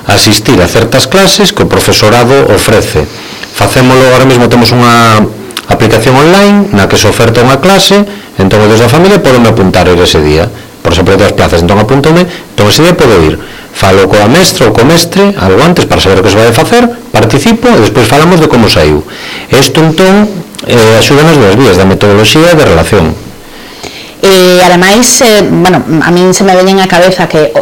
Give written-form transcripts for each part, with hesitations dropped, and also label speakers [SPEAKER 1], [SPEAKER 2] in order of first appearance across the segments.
[SPEAKER 1] asistir a certas clases que o profesorado ofrece. Facémolo, ahora mesmo temos unha aplicación online na que se oferta unha clase, entón desde a familia podeme apuntar ir ese día, por exemplo, das plazas, entón apúntome, entón ese día podo ir, falo coa mestra ou co mestre algo antes para saber o que se vai a facer, participo e despois falamos de como saiu. Isto entón axuda nas dúas vías, da metodoloxía e da relación.
[SPEAKER 2] E ademais, bueno, a min se me veñen a cabeza que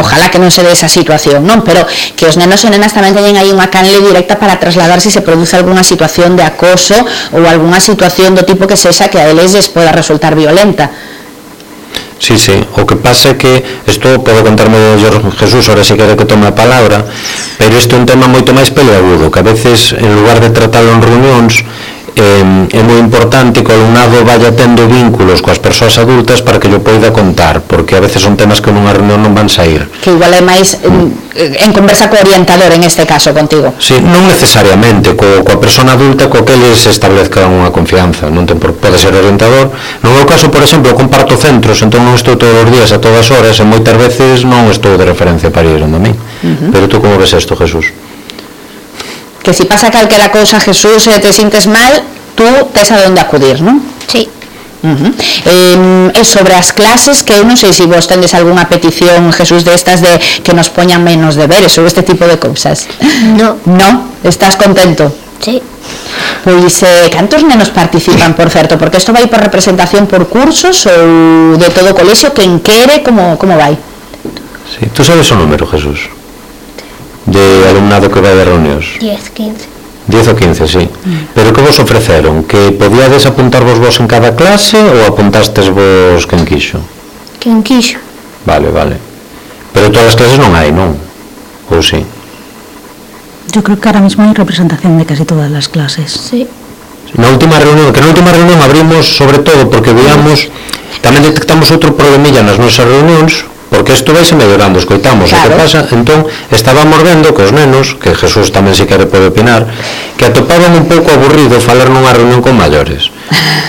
[SPEAKER 2] ojalá que non se dé esa situación, non? Pero que os nenos e nenas tamén teñen aí unha canle directa para trasladar se produce algunha situación de acoso ou algunha situación do tipo que sexa que a eles les poda resultar violenta.
[SPEAKER 1] Sí, o que pasa é que isto podo contarme de Jesús, ahora si quere que tome a palabra, pero isto é un tema moito máis peleagudo, que a veces en lugar de tratarlo en reunións é moi importante que o alumnado vaya tendo vínculos coas persoas adultas para que yo poida contar, porque a veces son temas que nunha reunión non van sair.
[SPEAKER 2] Que igual é máis en conversa co orientador, en este caso, contigo.
[SPEAKER 1] Sí, non necesariamente, coa persona adulta co que eles establezcan unha confianza, non pode ser orientador. No meu caso, por exemplo, comparto centros, entón non estou todos os días a todas horas e moitas veces non estou de referencia para ir onde a mí. Pero tú como ves isto, Jesús?
[SPEAKER 2] Que si pasa calquera cousa, Jesús, e te sintes mal, tú tes a donde acudir, non?
[SPEAKER 3] Sí.
[SPEAKER 2] E sobre as clases, que eu non sei se vos tendes algunha petición, Jesús, destas de que nos poñan menos deberes ou este tipo de cousas.
[SPEAKER 3] No.
[SPEAKER 2] No? Estás contento?
[SPEAKER 3] Sí.
[SPEAKER 2] Pois, cantos nenos participan, por certo? Porque isto vai por representación por cursos ou de todo o colexio, quen quere, como vai?
[SPEAKER 1] Sí, tú sabes o número, Jesús, de alumnado que vai de reunións?
[SPEAKER 3] 10, 15.
[SPEAKER 1] 10 ou 15, sí. Pero que vos ofreceron? Que podíades apuntarvos vos en cada clase ou apuntastes vos quen quixo?
[SPEAKER 3] Quen quixo.
[SPEAKER 1] Vale. Pero todas as clases non hai, non? Ou sí?
[SPEAKER 4] Yo creo que ahora mismo hay representación de casi todas las clases.
[SPEAKER 3] Sí.
[SPEAKER 1] Na última reunión abrimos sobre todo porque veamos, tamén detectamos outro problemilla nas nosas reunións, porque isto vais mellorando, escoitamos claro. O que pasa, entón estábamos vendo que os nenos, que Jesús tamén se quere pode opinar, que atopaban un pouco aburrido falar nunha reunión con maiores,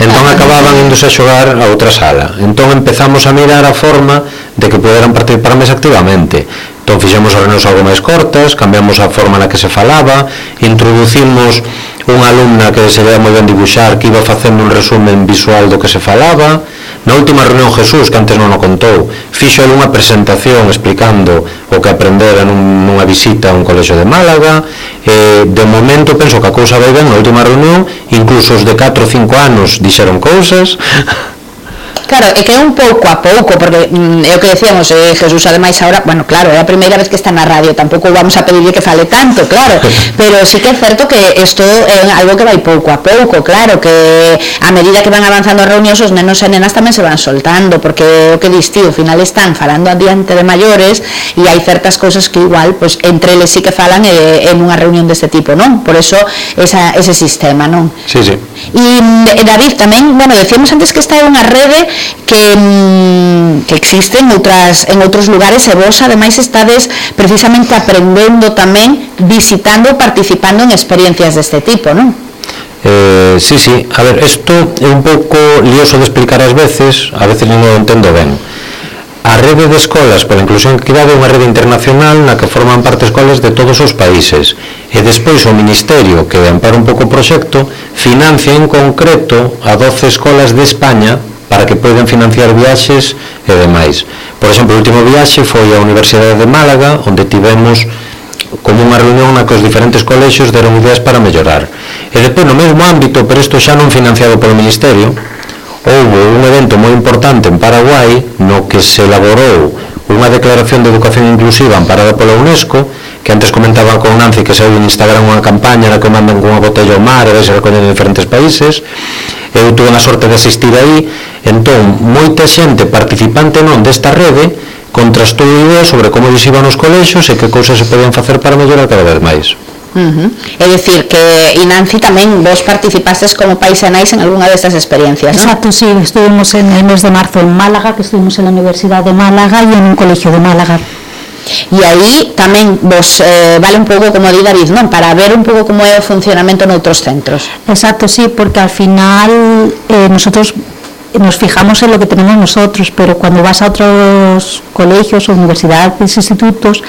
[SPEAKER 1] entón acababan indose a xogar a outra sala, entón empezamos a mirar a forma de que poderan participar máis activamente, entón fixemos as reunións algo máis cortas, cambiamos a forma na que se falaba, introducimos unha alumna que se veía moi ben dibuixar, que iba facendo un resumen visual do que se falaba. Na última reunión, Jesús, que antes non o contou, fixo unha presentación explicando o que aprendera nunha visita a un colexio de Málaga. De momento penso que a cousa vai ben na última reunión, incluso os de 4 ou 5 anos dixeron cousas.
[SPEAKER 2] Claro, é que é un pouco a pouco, porque é o que decíamos, Jesús, ademais, ahora, bueno, claro, é a primeira vez que está na radio, tampouco vamos a pedirle que fale tanto, claro, pero sí que é certo que isto é algo que vai pouco a pouco, claro, que a medida que van avanzando as reunións, os nenos e nenas tamén se van soltando, porque o que dis ti, ao final están falando adiante de maiores e hai certas cousas que igual, pues, entre eles sí que falan en unha reunión deste tipo, non? Por eso ese sistema, non?
[SPEAKER 1] Sí.
[SPEAKER 2] E David, tamén, bueno, decíamos antes que esta é unha rede que existe en outros lugares e vos ademais estades precisamente aprendendo tamén, visitando, participando en experiencias deste tipo, non?
[SPEAKER 1] Sí, a ver, isto é un pouco lioso de explicar ás veces, a veces non o entendo ben. A rede de escolas pola inclusión e equidade é unha rede internacional na que forman parte escolas de todos os países e despois o Ministerio, que ampara un pouco o proxecto, financia en concreto a 12 escolas de España para que poden financiar viaxes e demais. Por exemplo, o último viaxe foi á Universidade de Málaga, onde tivemos como unha reunión na que os diferentes colexios deron ideas para mellorar. E depois, no mesmo ámbito, pero isto xa non financiado polo Ministerio, houve un evento moi importante en Paraguai no que se elaborou unha declaración de educación inclusiva amparada pola UNESCO, que antes comentaba con Nancy que saiu en Instagram unha campaña na que mandan con unha botella ao mar e vai se recoller en diferentes países. Eu tuve a sorte de asistir aí, entón moita xente participante non desta rede contrastou ideas sobre como lles iban os colexios e que cousas se podían facer para mellorar cada vez máis.
[SPEAKER 2] É dicir que, e Nancy, tamén vos participastes como paisanais en algunha destas experiencias, non?
[SPEAKER 4] Exacto, sí, estuvimos en el mes de marzo en Málaga, que estuvimos en la Universidad de Málaga y en un colegio de Málaga.
[SPEAKER 2] E aí tamén vos vale un pouco, como di David, non? Para ver un pouco como é o funcionamento noutros centros.
[SPEAKER 4] Exacto, sí, porque al final nosotros nos fijamos en lo que tenemos nosotros, pero cuando vas a otros colegios, universidades, institutos,